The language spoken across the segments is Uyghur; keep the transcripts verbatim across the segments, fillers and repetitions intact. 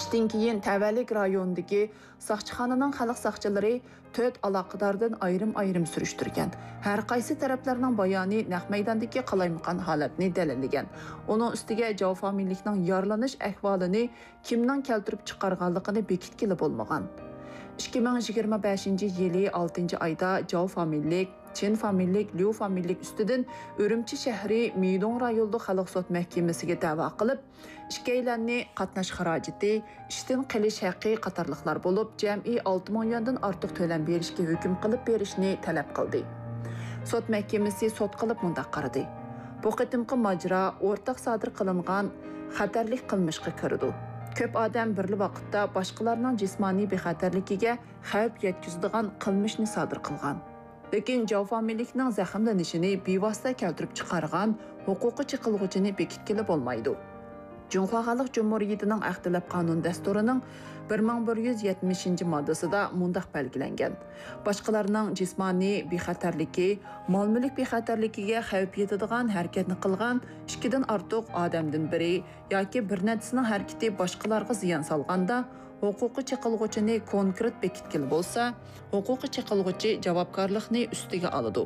ئىشتىن كېيىن تەۋەلىك رايونىدىكى ساقچىخانىنىڭ خەلق ساقچىلىرى تۆت ئالاقىداردىن ئايرىم-ئايرىم سۈرۈشتۈرگەن. ھەر قايسى تەرەپلەرنىڭ بايانى نەق مەيداندىكى قالايمىقان ھالەتنى دەلىللىگەن. ئۇنىڭ ئۈستىگە جاۋ فامىلىلىكنىڭ يارىلىنىش ئەھۋالىنى كىمنىڭ كەلتۈرۈپ چىقارغانلىقىنى بېكىتكىلى بولمىغان. ئىككى مىڭ يىگىرمە بەشىنچى يىلى ئالتىنچى ئايدا جاۋ فامىلىلىك، چىن فامىلىلىك، ليۇ فامىلىلىك ئۈستىدىن ئۈرۈمچى شەھىرى مىدوڭ رايونلۇق خەلق سوت مەھكىمىسىگە دەۋا قىلىپ، ئىككىيلەننى قاتناش خىراجىتى، ئىشتىن قېلىش ھەققى قاتارلىقلار بولۇپ، جەمئىي ئالتە مىڭ يۈەندىن ئارتۇق تۆلەم بېرىشكە ھۆكۈم قىلىپ بېرىشنى تەلەپ قىلدى. سوت مەھكىمىسى سوت قىلىپ مۇنداق قارىدى: بۇ قېتىمقى ماجىرا ئورتاق سادىر قىلىنغان خەتەرلىك قىلمىشقا كىرىدۇ. كۆپ ئادەم بىرلا ۋاقىتتا باشقىلارنىڭ جىسمانىي بىخەتەرلىكىگە خەۋپ يەتكۈزىدىغان قىلمىشنى سادىر قىلغان. لېكىن جاۋ فامىلىلىكنىڭ زەخىملىنىشىنى بىۋاسىتە كەلتۈرۈپ چىقارغان ھوقۇقىي چېقىلغۇچىنى بېكىتكىلى بولمايدۇ. جۇڭخۇا خەلق جۇمھۇرىيىتىنىڭ ئەخلەت قانۇن دەستۇرىنىڭ بىر مىڭ بىر يۈز يەتمىشىنچى ماددىسىدا مۇنداق بەلگىلەنگەن: باشقىلارنىڭ جىسمانىي بىخەتەرلىكى، مال-مۈلۈك بىخەتەرلىكىگە خەۋپ يېتىدىغان ھەرىكەتنى قىلغان ئىككىدىن ئارتۇق ئادەمدىن بىرى ياكى بىر نەچچىسىنىڭ ھەرىكىتى باشقىلارغا زىيان سالغاندا، ھوقۇقىي چېقىلغۇچىنى كونكرېت بېكىتكىلى بولسا، ھوقۇقىي چېقىلغۇچى جاۋابكارلىقنى ئۈستىگە ئالىدۇ.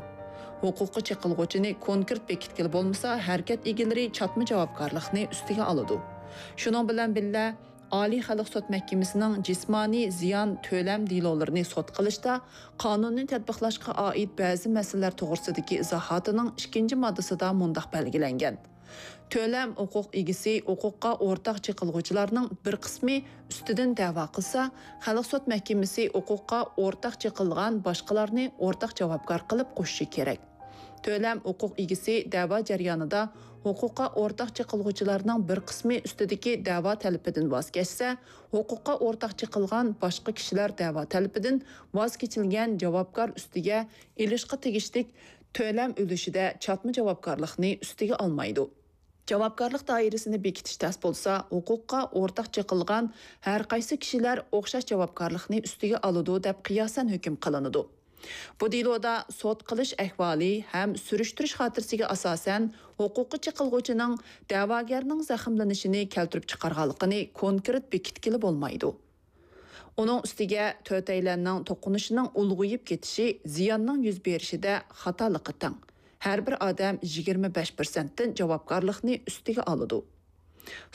ھوقۇقىي چېقىلغۇچىنى كونكرېت بېكىتكىلى بولمىسا، ھەرىكەت ئىگىلىرى چاتما جاۋابكارلىقنى ئۈستىگە ئالىدۇ. شۇنىڭ بىلەن بىللە، ئالىي خەلق سوت مەھكىمىسىنىڭ جىسمانىي زىيان تۆلەم دېلولىرىنى سوت قىلىشتا قانۇننى تەتبىقلاشقا ئائىت بەزى مەسىلىلەر توغرىسىدىكى ئىزاھاتىنىڭ ئىككىنچى ماددىسىدا مۇنداق بەلگىلەنگەن: تۆلەم ھوقۇق ئىگىسى ھوقۇققا ئورتاق چېقىلغۇچىلارنىڭ بىر قىسمى ئۈستىدىن دەۋا قىلسا، خەلق سوت مەھكىمىسى ھوقۇققا ئورتاق چېقىلغان باشقىلارنى ئورتاق جاۋابكار قىلىپ قوشۇشى كېرەك. تۆلەم ھوقۇق ئىگىسى دەۋا جەريانىدا ھوقۇققا ئورتاق چېقىلغۇچىلارنىڭ بىر قىسمى ئۈستىدىكى دەۋا تەلىپىدىن ۋاز كەچسە، ھوقۇققا ئورتاق چېقىلغان باشقا كىشىلەر دەۋا تەلىپىدىن ۋاز كېچىلگەن جاۋابكار ئۈستىگە ئېلىشقا تېگىشلىك تۆلەم ئۈلۈشىدە چاتما جاۋابكارلىقنى ئۈستىگە ئالمايدۇ. جاۋابكارلىق دائىرىسىنى بېكىتىش تەس بولسا، ھوقۇققا ئورتاق چېقىلغان ھەر قايسى كىشىلەر ئوخشاش جاۋابكارلىقنى ئۈستىگە ئالىدۇ، دەپ قىياسەن ھۆكۈم قىلىنىدۇ. بۇ دېلودا سوت قىلىش ئەھۋالى ھەم سۈرۈشتۈرۈش خاتىرىسىگە ئاساسەن، ھوقۇققا چېقىلغۇچىنىڭ دەۋاگەرنىڭ زەخىملىنىشىنى كەلتۈرۈپ چىقارغانلىقىنى كونكرېت بېكىتكىلى بولمايدۇ. ئۇنىڭ ئۈستىگە تۆتەيلەننىڭ توقۇنۇشىنىڭ ئۇلغىيىپ كېتىشى زىياننىڭ يۈز بېرىشىدە خاتالىققا تەڭ. ھەر بىر ئادەم يىگىرمە بەش پىرسەنتتىن جاۋابكارلىقنى ئۈستىگە ئالىدۇ.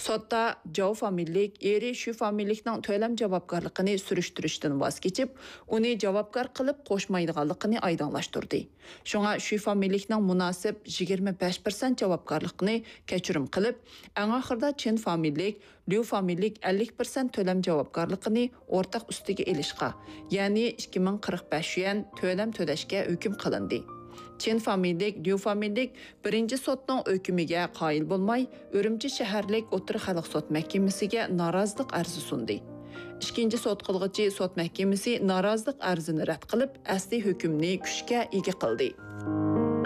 سوتتا جاۋ فامىلىلىك ئېرى شۈ فامىلىلىكنىڭ تۆلەم جاۋابكارلىقىنى سۈرۈشتۈرۈشتىن ۋاز كېچىپ، ئۇنى جاۋابكار قىلىپ قوشمايدىغانلىقىنى ئايدىڭلاشتۇردى. شۇڭا شۈ فامىلىلىكنىڭ مۇناسىپ يىگىرمە بەش پىرسەنت جاۋابكارلىقىنى كەچۈرۈم قىلىپ، ئەڭ ئاخىرىدا چىن فامىلىلىك، ليۇ فامىلىلىك ئەللىك پىرسەنت تۆلەم جاۋابكارلىقىنى ئورتاق ئۈستىگە ئېلىشقا، يەنى ئىككى مىڭ قىرىق بەش يۈەن تۆلەم تۆلەشكە ھۆكۈم قىلىندى. چىن فامىلىلىك، ليۇ فامىلىلىك بىرىنچى سوتنىڭ ھۆكمىگە قايىل بولماي، ئۈرۈمچى شەھەرلىك ئوتتۇرا خەلق سوت مەھكىمىسىگە نارازىلىق ئەرزى سۇندى. ئىككىنچى سوت قىلغۇچى سوت مەھكىمىسى نارازىلىق ئەرزىنى رەت قىلىپ، ئەسلى ھۆكۈمنى كۈچكە ئىگە قىلدى.